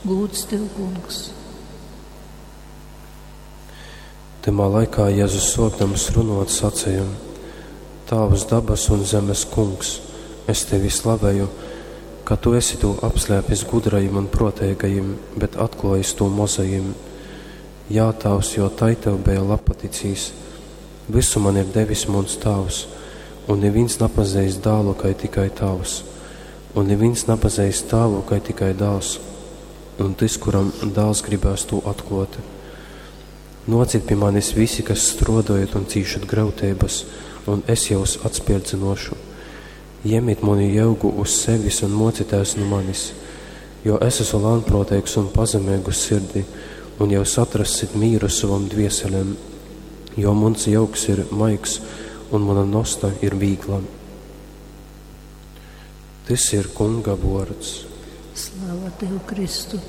Gūds tev, Kungs! Tymā laikā Jezus suokdams runuot saceja: Tāvs, dabasu un zemes Kungs, es tevi slaveju, ka tu esi tū apslēpis gudrajim un pruoteigajim, bet atkluojis tū mozajim. Jā, Tāvs, jo tai tev beja labpaticīs. Visu man ir devis muns Tāvs, un nivīns napazeist dālu, kai tikai Tāvs, un nivīns napazeist Tāvu, kai tikai dāls, un tys, kuram dāls gribēs tū atkluot. Nōcit pi manis visi, kas strōdojat un cīšat gryuteibas, un es jūs atspirdzynōšu. Jemit muni jeugu uz sevis un mōcitēs nu manis, jo es esmu lānprōteigs un pazemeigu sirdi, un jūs atrassit mīru sovom dvieselem, jo muns jeugs ir maigs un muna nosta ir vīgla. Tys ir Kunga vuords. Slava tev, Kristu!